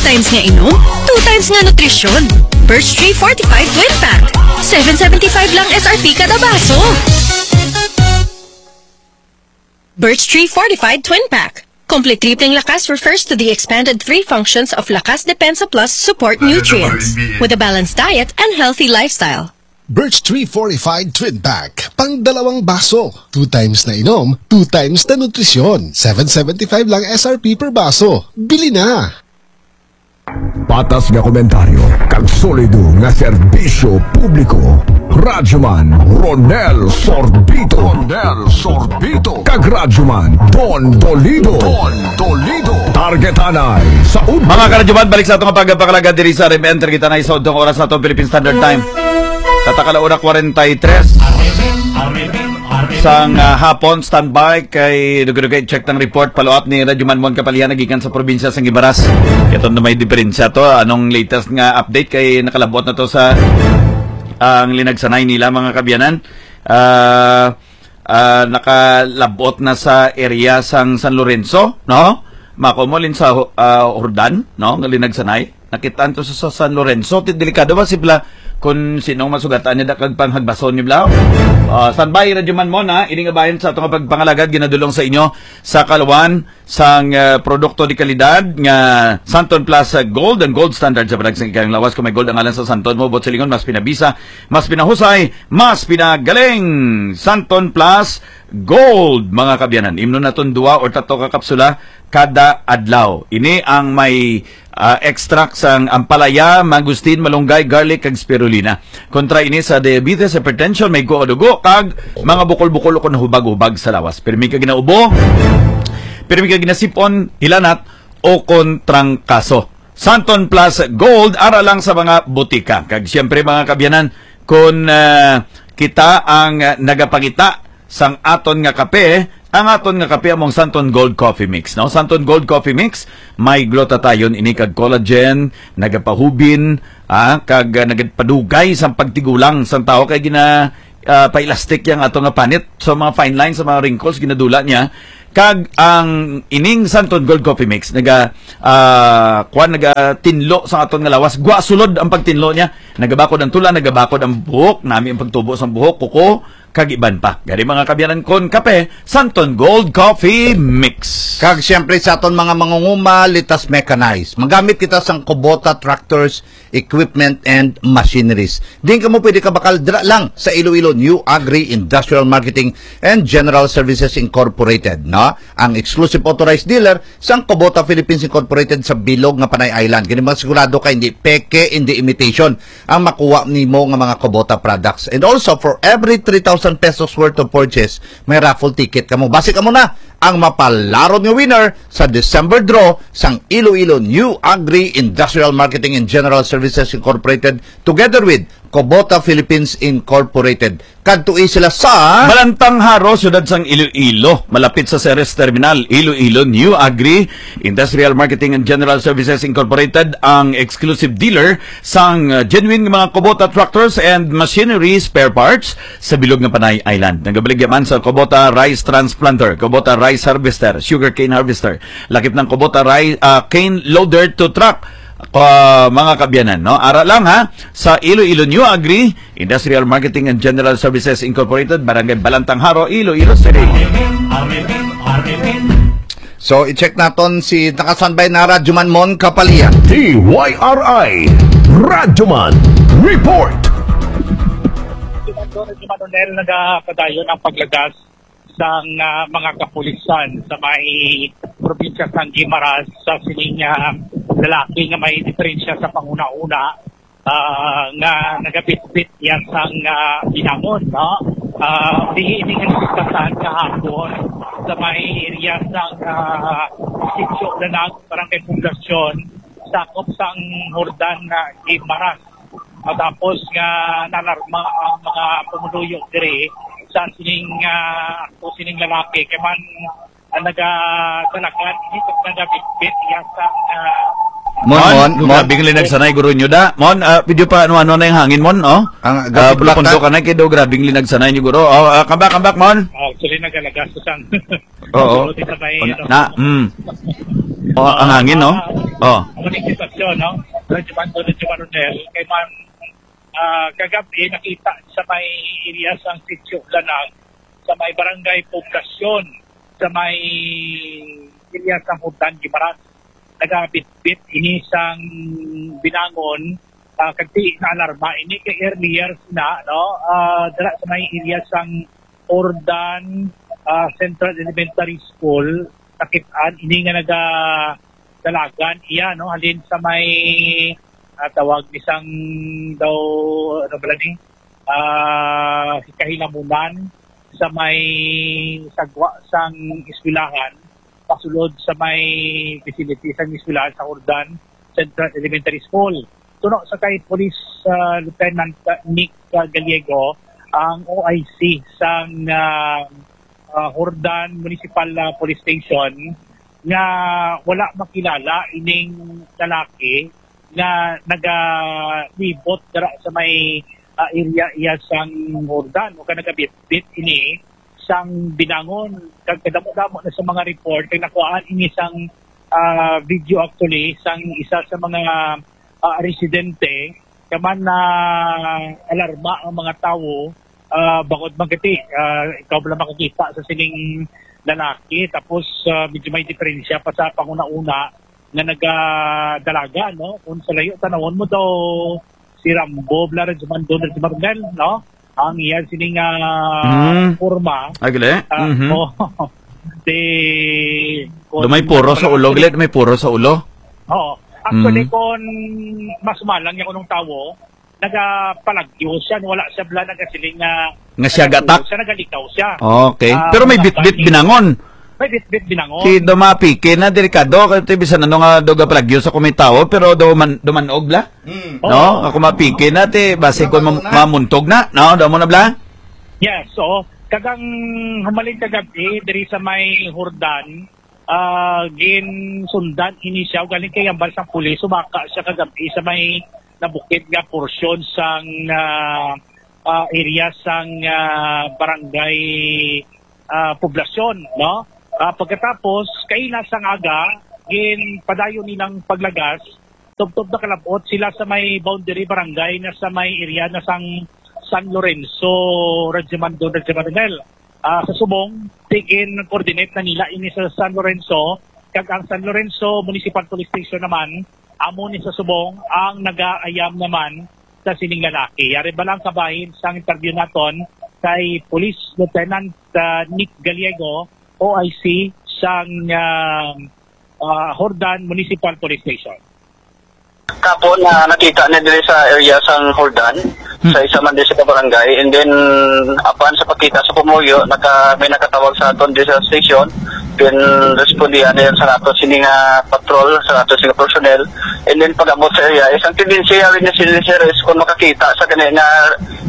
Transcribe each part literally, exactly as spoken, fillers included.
times nga inom, two times nga nutrisyon. Birch Tree Fortified Twin Pack. Seven seventy-five lang S R P kada baso. Birch Tree Fortified Twin Pack. Complete Tripling Lakas refers to the expanded three functions of Lakas Depensa Plus support nutrients with a balanced diet and healthy lifestyle. Birch Tree Fortified Twin Pack. Pang dalawang baso. Two times na inom, two times na nutrisyon. Seven seventy-five lang S R P per baso. Bili na! Patas nga komentaryo kag solido nga serbisyo publiko. Radyoman Ronel Sorbito. Ronel Sorbito. Kag Radyoman Don Dolido. Don Dolido. Targetanay sa udto. Mga karadyoman, balik sa atong pagpakalaga diri sa R M N. Targetanay sa udtong oras nato, Philippine Standard Time. Tatakala ora kwarenta y tres sang, ah, hapon, standby kay dugay-dugay check ng report, follow up ni Radyoman Mon Kapalian nagikan sa probinsya sang Guimaras. Ito na may diferensya to. Anong latest nga update kay nakalabot na to sa ang linagsanay nila, mga kabyanan? Ah, ah, nakalabot na sa area sang San Lorenzo, no? Mako mo lin sa, ah, Jordan, no? Nga linagsanay. Nakitaan to sa, sa San Lorenzo. Ti-, delikado ba sila kung sinong masugatan niya da kag panghagbason ni Blau? Ah, standby, Radyo Man Mon, ha? Ining abayan sa atong pagpangalagad, ginadulong sa inyo sa kalawan sang, ah, produkto di kalidad nga Santon Plus, ah, Gold, ang gold standard sa panag sang ikayong lawas. Kung may gold ang ngalan sa Santon mo, buot silingon, mas pinabisa, mas pinahusay, mas pinagaling. Santon Plus Gold, mga kabyanan. Imnon naton dua or tatlo ka kapsula kada adlaw. Ini ang may, ah, extract sang ampalaya, mangosteen, malunggay, garlic, kag spirulina. Kontra ini sa diabetes, hypertension, may guho dugo, kag mga bukol-bukol o kon hubag-hubag sa lawas. Pirmi ka ginaubo, pirmi ka ginasipon, hilanat, o kon trangkaso. Santon Plus Gold, ara lang sa mga butika. Kag siyempre, mga kabyanan, kung, ah, kita ang, ah, nagapangita sang aton nga kape, ang aton nga kape among Santon Gold Coffee Mix, no? Santon Gold Coffee Mix, may glutathione ini kag collagen, nagapahubin, ah, kag, ah, nagapadugay sang pagtigulang sang tawo kay gina, ah, pa-elastic yang ato nga panit. So, mga fine lines, sa mga wrinkles, ginadula niya. Kag ang ining Santon Gold Coffee Mix, naga, ah, kuwan, nagatinlo sa aton nga lawas. Gwa sulod ang pagtinlo niya. Nagabakod ang tula, nagabakod ang buhok, nami ang pagtubo sang buhok, kuko, kag iban pa. Gani, mga kabyanan, kon kape, Santon Gold Coffee Mix. Kag siyempre sa aton mga mangunguma, let us mechanize. Magamit kita sang Kubota tractors, equipment, and machineries. Din kamo pwede kabakal dira lang sa Iloilo New Agri Industrial Marketing and General Services Incorporated, no? Ang exclusive authorized dealer sang Kubota Philippines Incorporated sa bilog nga Panay Island. Kini mga sigurado ka hindi peke, hindi imitation ang makuha nimo nga mga Kubota products. And also, for every three thousand pesos worth of purchase, may raffle ticket kamo. Basi kamo na ang mapalaron nga winner sa December draw sang Iloilo New Agri Industrial Marketing and General Services Incorporated together with Kubota Philippines Incorporated. Kadtoi sila sa Balantang Jaro, siyudad sang Iloilo, malapit sa Ceres Terminal. Iloilo New Agri Industrial Marketing and General Services Incorporated ang exclusive dealer sang, uh, genuine nga mga Kubota tractors and machinery spare parts sa bilog nga Panay Island. Nagabaligya man sa Kubota rice transplanter, Kubota rice harvester, sugarcane harvester, lakip ng Kubota rice, ah, cane loader to truck. Ah, mga kabyanan, no? Ara lang, ha, sa Iloilo New Agri Industrial Marketing and General Services Incorporated, Barangay Balantang Jaro, Iloilo City. So, i-check naton si nakasanbay na Radyoman Mon Kapalian. D Y R I Radyoman Report. Ronel, nagapadayon ang paglagas sang, ah, mga kapulisan sa may probinsya sang Guimaras sa sining, ah, lalaki nga may diferensya sa panguna-una, ah, nga nagabitbit niya sang, ah, binangon, no? Ah, dihi ini nga nagkasaan kahapon sa may area sang, ah, Sitio Lanag, Barangay Poblacion, sakop sang Jordan, ah, Guimaras. Matapos nga nalarma ang mga pumuluyo diri sa sining, ah, akto sining lalaki, kay man, ah, nagadalagan, dito nagabitbit iya sa, ah, Mon, Mon, Mon, Mon. Grabe ang linagsanay, guro nyo da. Mon, ah, pwede pa ano-ano na yung hangin, Mon, oh? Ang Ah, gabi bulapondo plata. Ka na, kay daw grabe ang linagsanay nyo, guro. Oh, ah, come back, come back, Mon. Actually, nagalagas ko sang Oo. Sulod sa may, On-, ano. Na, mm. Oh, ang hangin, no? Ah, Oh. Ang hangin sa Yun, no? Radyo Mando, Radyo Maronel, kay man, ah, kagabi nakita sa may area sang Sitio Lanag, sa may barangay Poblasyon, sa may area sang Hordan, Guimaras, nagabitbit ini sang binangon, ah, kag ti na alarma ini kay earlier na, no? Ah, dira sa may area sang Hordan, ah, Central Elementary School, nakit-an ini nga nagadalagan iya, no, halin sa may, ah, tawag ni sang daw, ano bala ni, ah, kahilamunan sa may sagwa sang eskwelahan, pasulod sa may facility sang eskwelahan sa Hordan Central Elementary School. Suno sa kay Police, ah, Lieutenant, ah, Nick, ah, Gallego, ang O I C sang, ah, ah, Hordan Municipal, ah, Police Station, nga wala makilala ining lalaki nga nagalibot dira sa may, ah, area iya sang Hordan o ka nagabitbit ini sang binangon. Kag kadamo-damo na sa mga report kay nakuhaan ini sang, ah, video actually sang isa sa mga, ah, residente, kaman na alarma ang mga tawo, ah, bangod man kiti, ah, ikaw bala makakita sa sining lalaki, tapos, ah, medyo may diferensya pa sa panguna-una nga nagadalaga, no? Kung sa layo, tanawon mo daw si Rambo, bala, Radyo Mando, Radyo Maronel, no? Ang iya sining, ah, Mm. Forma. Agli? Ah, Mhm. Oh, di, kung Do may puro sa ulo, ano, glit, may puro sa ulo? Oo. Actually, Mm. kung mas malang niya kunong tawo, nagapalagyo siya, wala siya bala nagasiling nga Nga siya nagatulo gatak? siya, nagalikaw siya. Okay. Ah, Pero may mga bitbit bali. binangon. May bitbit binangon. Kay do mapiki na, delikado. Kay ti bisan ano nga do gapalagyo sa kumitawo, pero do man, do manog bla? Mm. No? Oo. Ako mapiki na, ti basi Dapat kung mam-, muna. mamuntog na, no? Do mo na bla? Yes, oo. Kagang humaling kagabi, diri sa may Hordan, ah, ginsundan ini siya, galing kay ambal sang pulis, sumaka siya kagabi sa may nabukid nga porsyon sang, ah, ah, area sang, ah, barangay, ah, Poblasyon, no? Ah, pagkatapos, kaila sang aga, ginpadayon nilang paglagas, tubtob na kalabot sila sa may boundary barangay na sa may area na sang San Lorenzo, Radyo Mando, Radyo Maronel. Ah, sa subong, tigin-coordinate na nila ini sa San Lorenzo, kag ang San Lorenzo Municipal Police Station naman, amo ni sa subong ang nagaayam naman sa sining lalaki. Yari ba lang kabahin sang interview naton kay Police Lieutenant, ah, Nick Gallego, O I C sang, ah, ah, Hordan Municipal Police Station. Kapo na nakita ni diri sa area sang Hordan, Hmm. sa isa man diri sa barangay, and then apan sa pagkita sa pumuluyo, naka, may nakatawag sa aton diri sa station, then respondihan niya sa ato sini nga patrol, sa ato sini nga personnel, and then pag-abot sa area, isang tendency rin niya sila, sir, is kung makakita sa kani nga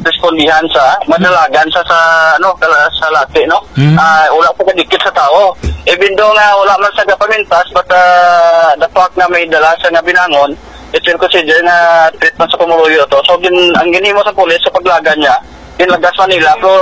respondihan sa madalagan sa, sa, ano, kala-, sa lati, no? Hmm. Ah, wala po kadikit sa tao. Even though nga wala man sa gapamintas, but, ah, the fact nga may dala sa nga binangon, it will consider nga treatment sa pumuluyo to. So, gin-, ang ginhimo sa pulis sa paglagan niya, ginlagas man nila, pero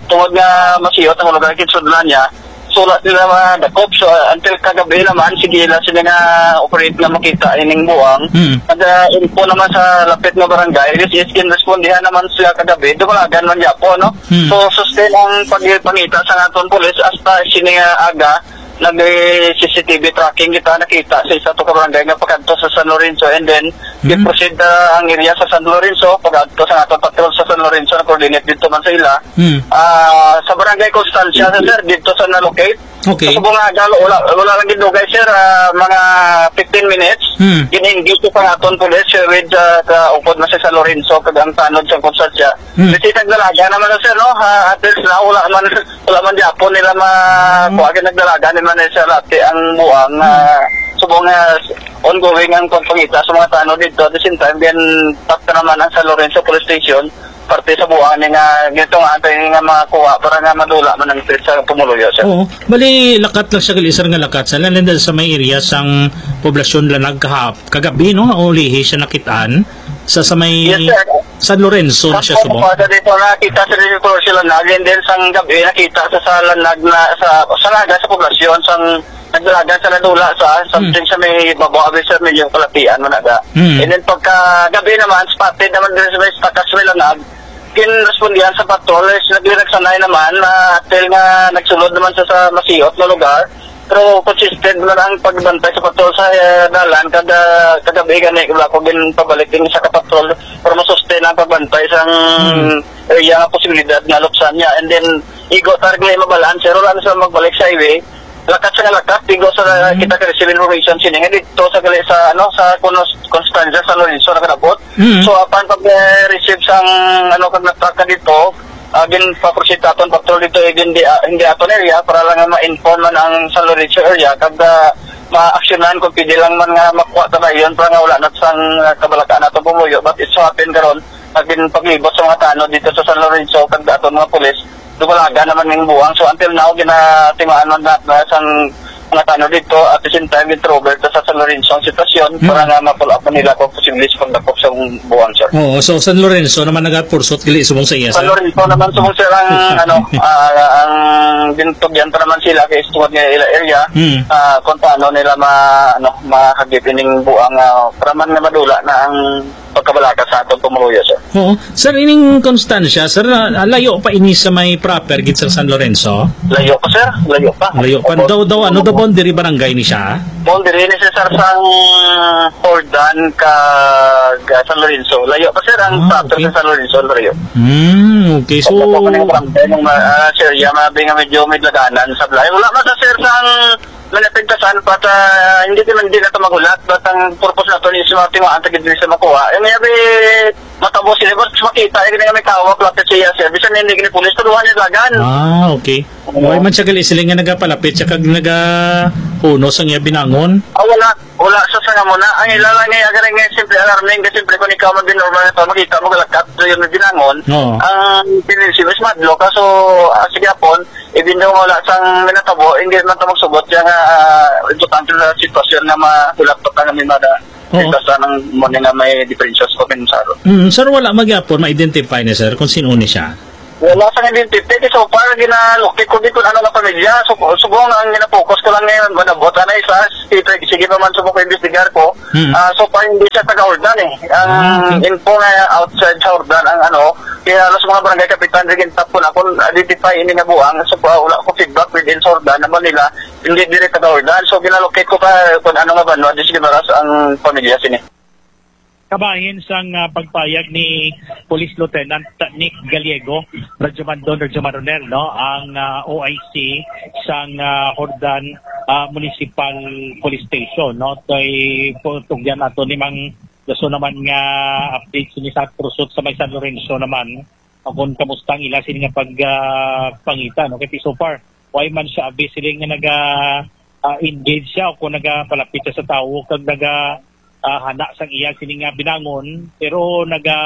tungod nga masiyot ang lugar, kinsudlan niya, sulat nila madakop. So, ah, until kagabi naman, sige lang sila nga operate nga makita ining buang. Hmm. Nag-info naman sa lapit nga barangay, which is ginrespondihan naman sila kagabi, dumalagan man gyapo, no? Hmm. So, sustain ang pagpangita sa aton pulis hasta sini nga aga, nag-, C C T V tracking kita, nakita sa isa to ka barangay nga pakadto sa San Lorenzo, and then Hmm. i-proceed, ah, ang area sa San Lorenzo, pag-adto sa aton patrol sa San Lorenzo, na-coordinate dito man sa ila. Hmm. Ah, sa barangay Constancia, sir, dito sa na-locate. Okay. Sa subong nga aga, wala, wala lang gidugay, sir, ah, mga fifteen minutes. Hmm. Gin-engage sa aton pulis, sir, with, ah, sa upod na sa San Lorenzo, kag ang tanod sa Constancia. Hmm. Kasi nagdalaga naman na, sir, no? Ah, at least na, wala man, wala man gyapo nila ma-, Hmm. kuha, nagdalaga naman na sa lati ang buang, Hmm. ah, subong nga ongoing ang pagpangita sa mga tanod dito. At the same time, then, tap naman ang San Lorenzo Police Station, parte sa buang ni nga, gito nga, antay nga makuha para nga madula man ang sa pumuluyo, sir. Oo. Bali, lakat lang siya, gali, sir, nga lakat. Sa, lalo na sa may area sang poblasyon Lanag kahap-, kagabi, no? Ulihi siya nakitaan. Sa, sa may Yes, sir. San Lorenzo na siya Tapos, subong. Sa dito nakita sa dito sila Lanag, and then sang gabi nakita sa, sa Lanag na, sa, sa Naga, sa poblasyon, sang Nagdalagan sa nadula sa something sa may babaw abi, sir, medyo kalatian man ada. Mm. And then pagka gabi naman, spotted naman diri sa may Takas Milanag, ginrespondihan sa patrol, is naglinagsanay naman, na until nga nagsulod naman sa, sa masiot na lugar. Pero consistent man ang pagbantay sa patrol sa, eh, dalan kada kagabi gani wala ko ginpabalik din sa kapatrol para masustain ang pagbantay sa Mm. area nga posibilidad nga lupsan niya. And then, igo target mabalaan, sir, wala na sa magbalik sa highway. Lakat sa lakat, tigo sa Mm. kita ka-receive information sini nga dito sa gali sa, ano, sa Kunos-, Constanza, San Lorenzo, nakadabot. Mm. So, apan pag, eh, receive sang, ano, kag na-track na dito, ah, ginpaproceed aton patrol dito, eh, hindi, ah, hindi aton area para lang nga ma-inform man ang San Lorenzo area kag, ah, maaksyonan kung pwede lang man nga makuha ta na yun para nga wala na sang, ah, kabalakan nato pumuyo. But it so happen karon, nagin paglibot sa mga tanod dito sa San Lorenzo kag aton mga pulis, dumalaga naman ning buang. So, until now, ginatimaan man na, na sang mga tanod dito. At the same time, introvert sa San Lorenzo ang sitwasyon Mm. para nga ma-follow up nila kung posible sa pagdakop sa buang, sir. Oo, so San Lorenzo naman nagapursot gali subong sa iya, San sir? Lorenzo naman subong, sir, ang, ano, ah, ang bintugyan pa naman sila kay tungod nga ila area, Mm. ah, kung paano nila ma-, ano, mahagip ining buang, ah, para man nga madula na ang pagkabalaka sa atong pumuluyo, sir. Oo. Sir, ining Constancia, sir, ah, layo pa ini sa may proper gid sa San Lorenzo? Layo pa, sir. Layo pa. Layo pa. Opo. Daw, daw, ano, daw boundary barangay ni siya? Boundary ni siya, sir, sang Jordan kag, ah, San Lorenzo. Layo pa, sir, ang Ah, proper okay. sa San Lorenzo, layo. Hmm, okay. So, Opo, kung yung barangay, nung ma-, ah, sir, ya, mabi nga medyo may laganan sa balay. Wala man sa, sir, sang May napintasan, but, ah, hindi naman, hindi na ito maghulat, but ang purpose nato is mga timaan ta gid sa makuha. Eh, maybe matabo sila, but makita, eh, nga may tawag, lapit siya, sir. Bisan hindi gini pulis, tuluhan niya dagan. Ah, okay. Oo. Why man siya gali sila nga nagapalapit siya kag nagahunos ang iya binangon? Ah, wala. Wala sa sanga mo na. Ang ila lang nga, agad nga, simple alarming, kasi simple kung ikaw man din normal na to, makita mo, galakat, so yun, may binangon. Oo. Ang pinilisi, mas madlo ka, so, ah, sige, apon, Even though wala sang natabo, hindi man ta magsugot siya nga, ah, importante na sitwasyon nga mahulat pa nga may mada. Oo. Basta nang mo nga may diferensya sa pagkansaro. Mm, sir, wala man gihapon ma-identify na, sir, kung sino ni siya? Wala sang identify. Kay so far, ginalukit ko di kung ano nga pamilya. So, subong ang ginapokus ko lang ngayon, manabot na isa. Sige, sige pa man subong ko, imbestigar ko. Mm. Ah, so far, hindi siya taga Jordan eh. Ang Ah, okay. info nga outside sa Jordan, ang ano, kaya halos mga barangay kapitan, rin tapon akong identify ini nga buang. So, pa, wala ko feedback within Jordan na Manila, hindi diri taga Jordan. So, ginalocate ko pa kung ano nga banwa, di sige maras ang pamilya sini. Kabahin sang, ah, pagpayag ni Police Lieutenant Nick Gallego, Radyo Mandon, Radyo Maronel, no, ang, ah, O I C sang, ah, Jordan, ah, Municipal Police Station, no, kay tugyan nato ni Mang Dason naman nga update sini sa pursuit sa may San Lorenzo naman, kung kamusta ang ila sini nga pag, ah, pangita, no? Kay so far, why man siya abi sila nga naga, ah, engage siya o kung nagapalapit siya sa tawo kag naga, ah, hana sang iya sini nga binangon, pero naga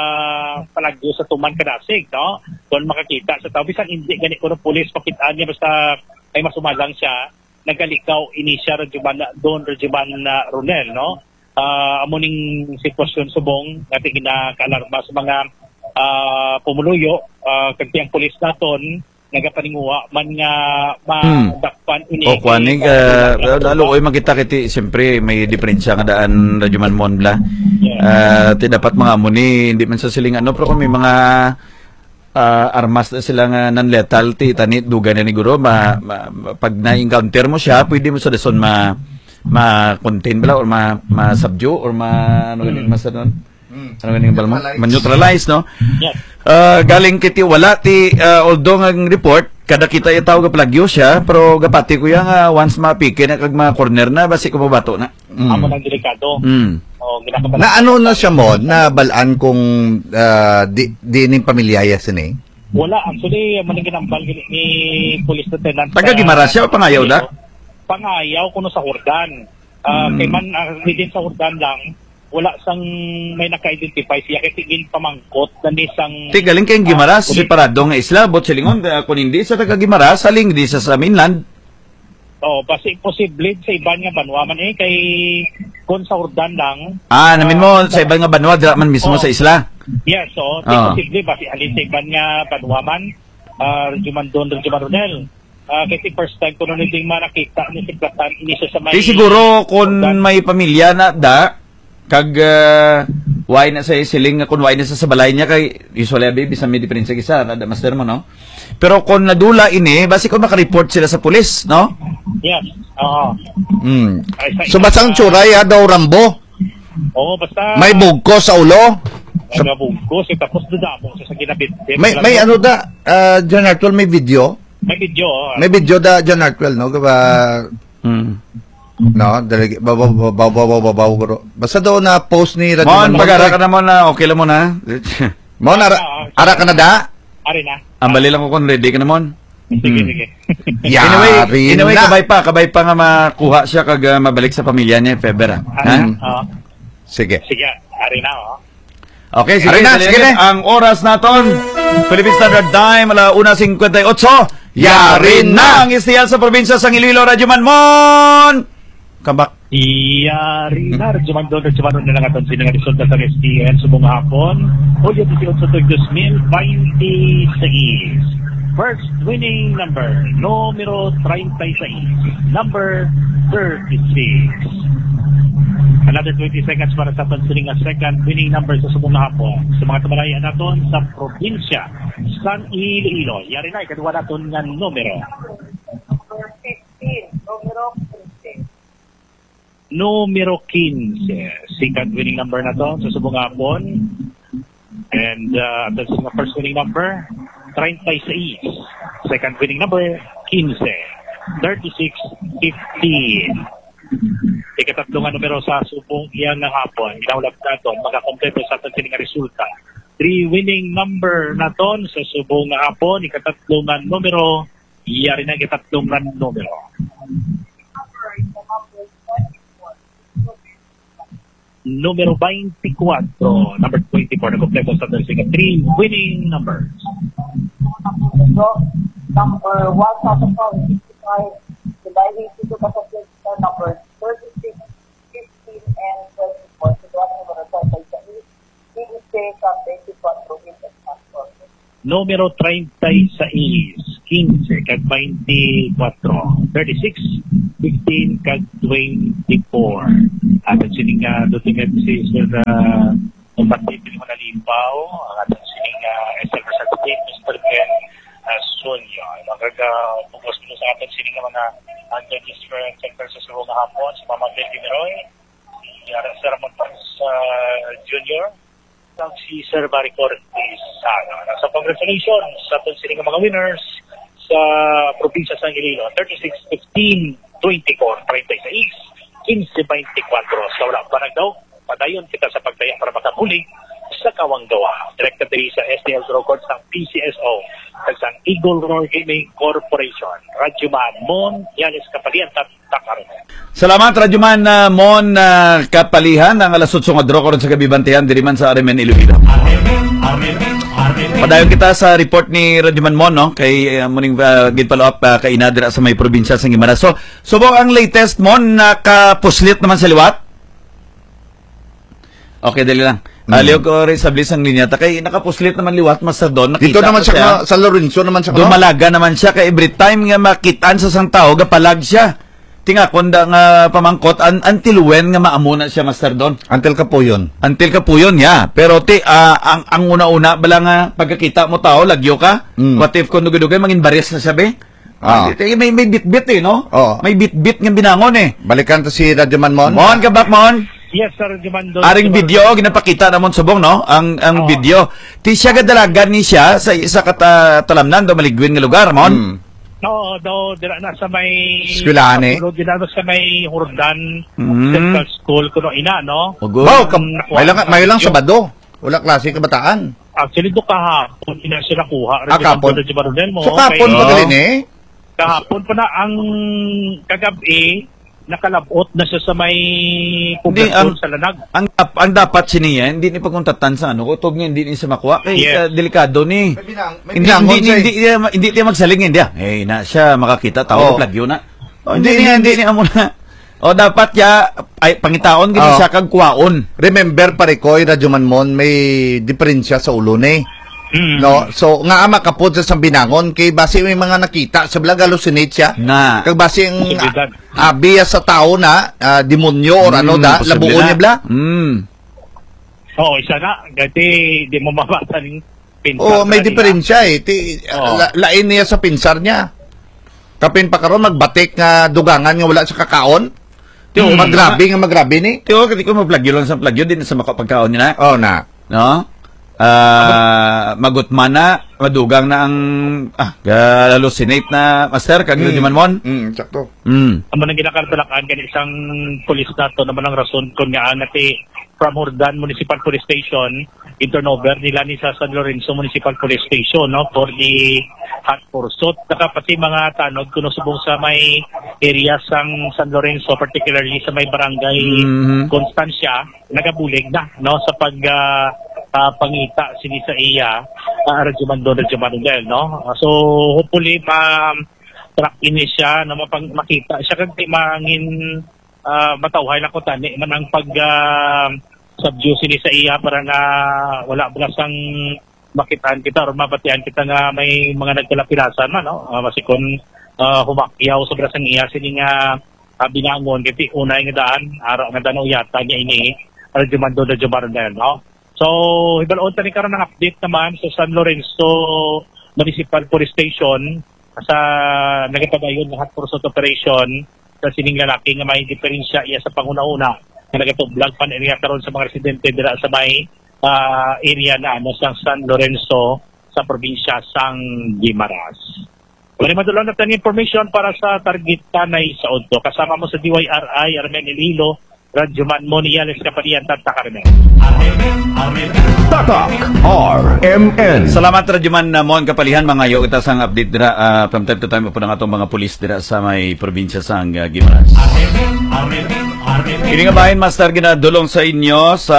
palagyo sa tuman kadasig, no? Kung makakita sa tawo, bisan hindi gani kuno pulis, pakitaan niya basta ay masumalang siya, nagalikaw ini siya, Radyo Man, Don Radyo Man, ah, Ronel, no? Ah, amo ning sitwasyon subong nga ginakaalarma sa mga, ah, pumuluyo, ah, kag tiyang pulis naton, nagapaninguha man nga Hmm. madakpan ini O, kuan, ni, ah, ah, lalo, oy, makita kiti, siyempre, may diferensya nga daan, Radyo Man Mon, bla. Yeah. Ah, ti dapat mga amo ni, hindi man sa siling ano, pero kung may mga, ah, armas na sila nga non-lethal, ti, tani, dugay na ni guro, ma-, ma-, ma-, pag na-encounter mo siya, pwede mo sa dason ma-, ma-contain bala or ma-, ma-subdue or ma-, ano gani, Mm. mas ano? Mm. Ano gani, bala mo? Neutralize. Ma-neutralize, no? Yes. Ah, galing kiti wala ti, ah, although nga ang report, kada kita itaw gapalagyo siya, pero gapati ko ya nga once mapiki na kag mga corner na, basi ko mabato na. Mm. Amo nang delikado. Mm. O, ginakabal- Na ano na siya mo, nabalaan kung, ah, di, di ning pamilya ya sini? Wala, actually, amo nang ginambal gini ni Police Lieutenant, Taga ah, Guimaras siya o Pangayaw da? Pangayaw kuno sa Jordan. Ah, Mm. kay man, ah, within sa Jordan lang, wala sang may naka-identify siya kay tigin pamangkot na ni sang, Ti galing kay ah, Guimaras, Police. Separado nga isla, but silingon, ah, kung hindi sa taga Guimaras, saling di sa, sa mainland. Oo, basi posible sa iban nga banwa man eh, kay kung sa Jordan lang, Ah, namin mo, ah, sa iban nga banwa, dira man mismo Oo. sa isla. Yes, so, Ah. posible, basi halin sa iban nga banwa man, ah, Radyo Man Don, Radyo Man Ronel. Ah, kasi first time ko nun hindi manakita ni si Platan, ini siya sa may Di siguro kung Jordan. May pamilya na da, kag, ah, why na sa siling nga kung why na sa, sa balay niya kay usually abi bisan may diferensya kisa, na da master mo, no? Pero kung nadula ini, basi kung makareport sila sa pulis, no? Yes. Oo. Mm. Ay, sa So, basang tsuray, ha, daw Rambo? Oo, basta May bugkos sa ulo? May bugkos, eh, tapos dadamo siya sa ginabit. May, may ano da, ah, John Arthur, may video? May video, ah. May video da, John Arthur, no? Kaba, Hmm. no? Dali, babaw, babaw, babaw, babaw, bro. Basta daw na post ni Radyo Mon, Manmon, pag-ara eh. ka na mo na, okay lang mo na. Mon, ara, Ah, ah, ara ka na da? Ari na. Ang bali lang ko kung ready ka na, Mon. Sige, Hmm. sige. Anyway, Yari anyway, na. kabay pa, kabay pa nga makuha siya kag, ah, mabalik sa pamilya niya, if ever, ah. Ari Ha? na. Oo. Sige. Sige, ari na, oh. Okay, sige, Ari na, dali sige lang. na. Ang oras naton, Philippine Standard Time, ala una cincuenta y ocho. Yari Yari na. na ang S T L sa probinsya sang Iloilo, Radyo Manmon. Come back. Yari na, Radyo Manmon, Radyo Manmon na lang aton sini nga resulta sa S T L subong nga hapon. Hulyo dieciocho, dos mil veintiséis. First winning number, numero treinta y seis, number thirty-six. Another twenty seconds para sa aton sini nga second winning number sa subong nga hapon. Sa mga tumalayan naton sa probinsya sang Iloilo, yari na, ikaduha naton nga numero. Number fifteen, numero quince. Numero quince. Second winning number naton sa subong nga hapon. And, uh, that's the first winning number, treinta y seis. Second winning number, quince. Thirty-six fifteen. Ikatatlo nga numero sa subong iya nga hapon. Ginahulap naton, makakompleto sa aton sini nga resulta. Three winning number naton sa subong nga hapon. Ikatatlo nga numero, yari na ikatatlo nga numero. Numero twenty-four. Number twenty-four, nagkompleto sa aton sini nga three winning numbers. So, number one thousand four hundred sixty-five, dividing to two thousand twenty-four, number thirty-six, fifteen, and twenty-four. So, duha ka numero sa isa is, quince kag twenty-four, Ruben Espanto. Numero treinta y seis, quince, kag twenty-four, thirty-six, fifteen, kag twenty-four. Aton sini nga dutingan si Sir, ah, Combatente ni Manalipaw, ang aton sini nga S L Representative, Mister Ben, ah, Sunyo. Ang kag, ah, bugos mo sa aton sini nga mga, ah, judges for center sa subong nga hapon, si Mama Betty Meroy, si, ah, Sir Ramon Paz, ah, Junior, kag si Sir Barry Cortez. Ano, so, congratulations sa aton sini nga mga winners sa probinsya sang Iloilo, thirty-six fifteen, twenty-four treinta y seis, quince veinticuatro. Sa wala pa nagdaog, padayon kita sa pagdaya para makabulig sa Kawanggawa. Direkta diri sa S T L Draw Court sang P C S O, kag sang Eagle Roar Gaming Corporation. Radyo Man Mon Yales Kapalian, Takaron. Salamat, Radyo Man, ah, Mon, ah, Kapalihan, ang alas otso nga draw karon sa gabi, bantayan diri man sa R M N Iloilo. Padayon kita sa report ni Radyo Man Mon, no? Kay, ah, muning, ah, gid follow up, ah, kay ina dira sa may probinsya sa Guimaras. So, subong ang latest, Mon, nakapuslit naman sa liwat? Okay, dali lang. Mm. Aliw ko rin sa blis ang linya. Ta kay nakapuslit naman liwat, Master Don. Dito Nakita naman ko siya, siya. ka-, sa Lorenzo naman siya, no? Dumalaga naman siya. Kay every time nga makitaan sa isang tao, gapalag siya. Tingakon da nga pamangkot, an-, until when nga maamo na siya, Master Don? Until kapuyon. Until kapuyon, yeah. Pero ti, ah, ang, ang una-una, bala nga pagkakita mo tao, lagyo ka. Mm. What if kung dugay-dugay, mangin baris na siya, be? Ah. Di, di, may, may bitbit eh, no? Oo. May bitbit nga binangon eh. Balikan to si Radyo Man Mon. Mon, kabak, Mon. Yes, sir, Radyo Man Don. Aring video, ginapakita namon subong, no? Ang, ang Oo. video. Ti siya gadalagan ni siya sa isa ka ta-, talamnan do maligwin nga lugar, Mon. Hmm. Oo, daw, dira na sa may Eskwelahan eh. Patulog, dira na sa may Jordan Mm. Central School, kuno ina, no? Ogo. Wow, ka-, Ang nakuha may lang, sa may lang video. Sabado. Wala klase kabataan. Actually, do kahapon, ina siya nakuha. Ah, Radyo kahapon. Don, Radyo Maronel mo, So, kahapon okay. pa gali ni? Kahapon pa na ang kagabi, nakalabot na siya sa may Hindi, poblasyon ang, sa Lanag. ang dap-, ang dapat siniya, hindi ni pagkuntatan sa ano, kutob nga hindi ni siya makuha. Kay, Yes. ah, delikado ni. May binang-, may Hindi, binangon hindi, siya eh. hindi, hindi, hindi, hindi magsaling, hindi, ah. Eh, na siya makakita, tao, Oo. plagyo na. Oh, hindi Hindi, niya, hindi. hindi niya amo na. O, dapat ya, ay, pangitaon gid Oo. siya kag kuwaon. Remember, pare ko, Radyo Man Mon, may diferensya sa ulo ni. Mm. No? So, nga makapod sa binangon, kay basi may mga nakita sa vlog, hallucinate siya. Na. Kag basi ang Posibilidad. abi sa tao na, ah, demonyo or ano Mm, da, posible labuon na. niya bla. Mm. Oo, isa na. Kasi di mo mabasa ning pinsar Oh, may na nila. diferensya eh. Ti, Oo. la-, lain niya sa pinsar niya. Kapin pa karon magbatik nga dugangan nga wala sa kakaon. Ti, Hmm. magrabe nga magrabe ni. Ti, oh, kati ko maplagyo lang sa plagyo, di na sa makapagkaon niya na. Oh, na. No? Ah, magutman na, madugang na ang, ah, ga-, hallucinate na, master, kag Hmm. Radyo Manmon. Hmm, sakto. Hmm. Amo nang ginakartalakan gani sang pulis nato naman ang rason kon nga ang ati from Jordan Municipal Police Station, i-turnover nila ni sa San Lorenzo Municipal Police Station, no, for the hot pursuit. Saka pati mga tanod kuno subong sa may area sang San Lorenzo, particularly sa may barangay Mhm. Constancia, nagabulig na, no, sa pag, ah, ah, pangita sini sa iya, ah, Radyo Mandon, Radyo Mandel, no? So, hopefully, ma-track ini siya, no, mapang-, makita siya, kag di mangin, ah, matawhay na ko tani man ang pag, ah, subdue sini sa iya para na wala bala sang makitaan kita or mabatian kita nga may mga nagkalapilasan man, no? Ah, basi kon, ah, humakyaw sobra sang iya sini nga, ah, binangon, kay unay nga daan, ara nga daan uyatan niya ini, Radyo Mandon, Radyo Barnel, no? So, hibalon tani karon ang update naman sa San Lorenzo Municipal Police Station sa nagapadayon nga hot pursuit operation sa sining lalaki nga may diferensya iya sa panghunahuna nga nagatublag pa niya karon sa mga residente dira sa may, ah, area na ano sa San Lorenzo sa probinsya sang Guimaras. Wala madulong na tani information para sa target tanay sa udto. Kasama mo sa D Y R I, Armen Iloilo, Radyo Man Moniales Kapalian, Tata Carmen. Tatak R M N. Salamat, Radyo Man, uh, Mon Kapalihan. Mangayo kita sang update dira, uh, from time to time, upod ang atong mga pulis dira sa may probinsya sang, uh, Guimaras. Ini nga bahin, Master, ginadulong sa inyo sa,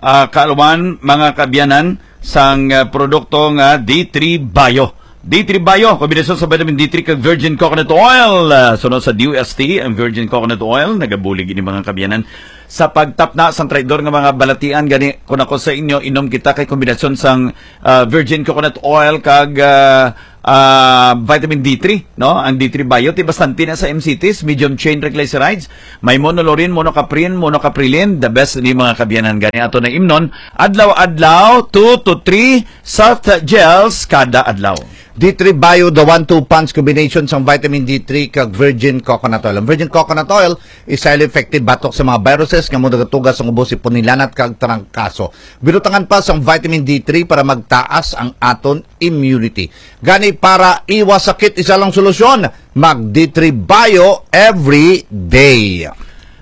uh, kaalwan, mga kaabyanan, sang, uh, produkto nga D three Bio. D three Bio, kombinasyon sa vitamin D three kag virgin coconut oil. Ah, sunod sa D O S T, ang virgin coconut oil, nagabulig ini, mga kaabyanan, sa pagtapna sang traidor nga mga balatian. Gani, kun ako sa inyo, inom kita kay kombinasyon sang, ah, virgin coconut oil kag, ah, ah, vitamin D three, no? Ang D three Bio, ti bastante na sa M C Ts, medium chain triglycerides, may monolaurin, monocaprin, monocaprilin, the best ni, mga kaabyanan. Gani, ato na imnon, adlaw-adlaw, two to three soft gels kada adlaw. D three Bio, the one two punch combination sang vitamin D three kag virgin coconut oil. Ang virgin coconut oil is highly effective batok sa mga viruses nga mo nagatuga sang ubo, sipon, hilanat kag trangkaso. Binutangan pa sang vitamin D three para magtaas ang aton immunity. Gani, para iwas sakit, isa lang solusyon, mag D three Bio every day.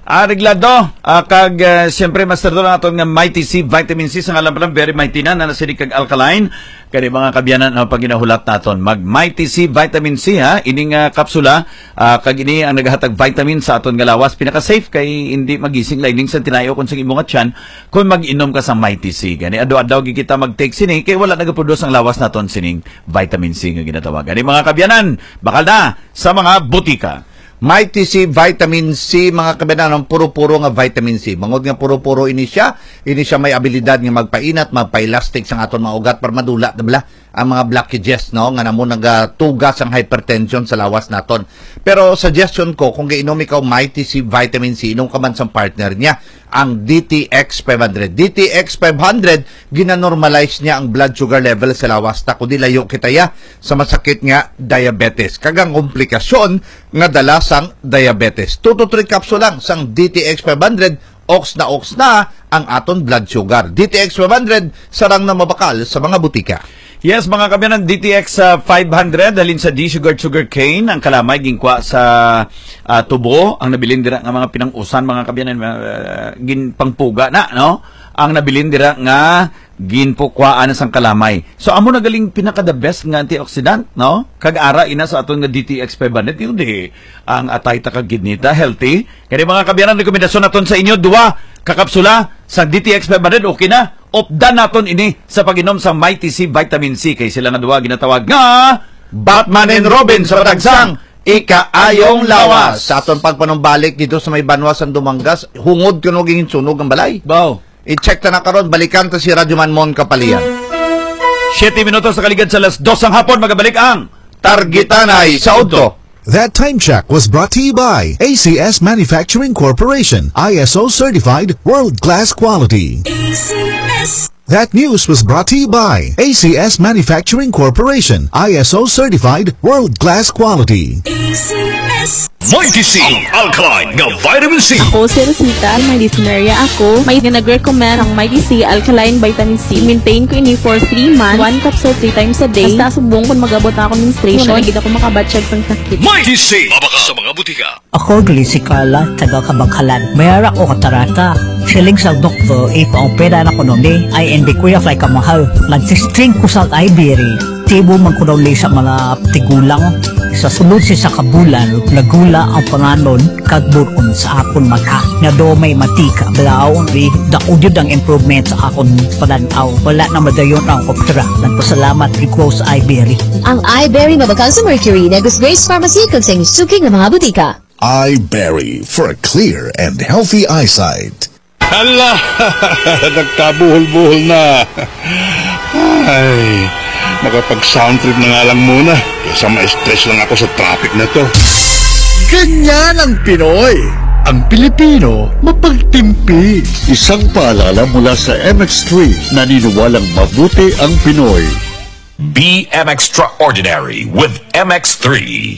Areglado, ah, kag, ah, siyempre, Master Don, aton nga Mighty C Vitamin C, sa ngalan pa lang, very mighty na, na nasilig kag alkaline. Kani, mga kaabyanan, ang paginahulat naton, mag Mighty C Vitamin C, ha, ining, ah, kapsula, ah, kag ini ang nagahatag vitamin sa aton nga lawas. Pinaka-safe kay hindi magising lining sa tinayo kung sa imo nga tiyan kung mag-inom ka sa Mighty C. Gani, adlaw-adlaw gid kita mag-take sini kay wala nagaproduce ang lawas naton sining vitamin C nga ginatawag. Gani, mga kaabyanan, bakal na sa mga butika. Mighty C Vitamin C, mga kaabyanan, ang puro-puro nga vitamin C. Bangod nga puro-puro ini siya, ini siya may abilidad nga magpainat, magpa-elastic sang aton mga ugat para madula, di ba? Ang mga blockages, no, nga namo nagatuga sang hypertension sa lawas naton. Pero suggestion ko, kung gainom ikaw Mighty C Vitamin C, inom ka man sang partner niya, ang D T X five hundred. D T X five hundred, ginanormalize niya ang blood sugar level sa lawas ta, kundi layo kita ya sa masakit nga diabetes kag ang komplikasyon nga dala sang diabetes. Two to three capsule lang sang D T X five hundred, oks na oks na ang aton blood sugar. D T X five hundred, sarang na mabakal sa mga butika. Yes, mga kaabyanan, D T X, ah, five hundred, halin sa D Sugar Sugar Cane, ang kalamay ginkwa sa, ah, tubo, ang nabilin dira nga mga pinang-usan, mga kaabyanan, ah, ginpangpuga na, no? Ang nabilin dira nga ginpukwaan sang kalamay. So, amo na galing pinaka the best nga antioxidant, no? Kag ara ina sa aton nga D T X five hundred, yun di, ang atay ta kag kidney ta, healthy. Kani, mga kaabyanan, rekomendasyon naton sa inyo, duwa ka kapsula sa D T X five hundred, okay na. Updan naton ini sa pag-inom sa Mighty C Vitamin C, kay sila nga duha ginatawag nga Batman and Robin sa patagsang ikaayong lawas. Sa aton pagpanumbalik dito sa may banwa sang Dumangas, hungod kuno ginsunog ang balay. Wow. I-check ta na karon, balikan ta si Radyo Man Mon Kapalian. Siyete minutos sa kaligad sa alas dos sang hapon, magabalik ang Targitanay sa Udto. That time check was brought to you by A C S Manufacturing Corporation, I S O certified, world-class quality. A C S. That news was brought to you by A C S Manufacturing Corporation, I S O certified, world-class quality. A C S. Mighty C, ang alkaline nga vitamin C. Ako si Rosita, may dysmenorrhea ako. May nag-recommend ang Mighty C Alkaline Vitamin C. Maintain ko ini for three months, one capsule three times a day. Hasta subong kung mag-abot na ako menstruation, wala gid ako makabatyag sang sakit. Mighty C, mabakal sa mga butika. Ako, Glenn Sikala, taga Kabanghalan. May ara ko katarata. Siling sa doktor, ipaopera na kuno ni, I N B Kuya Fly Kamahal. Nag-testing ko sa Ivory. Tibo man kuno ni sa mga tigulang. Sa sulod sa isa ka bulan, nagula ang panganon kag bur-on sa akon mata. Nga daw may matika. Daw, ri, dako jud ang improvement sa akon panan-aw. Wala na madayon ang opera. Nagpasalamat gid ko sa Ivory. Ang Iberry mabakal sa Mercury, Negros Grace Pharmacy, kag sa inyong suki nga mga butika. Iberry for a clear and healthy eyesight. Hala! Nagkabuhol-buhol na. Ay, makapag-sound trip na nga lang muna. Kaysa ma-stress lang ako sa traffic na to. Ganyan ang Pinoy. Ang Pilipino, mapagtimpi. Isang paalala mula sa M X three, naniniwalang mabuti ang Pinoy. Be an extraordinary with M X three.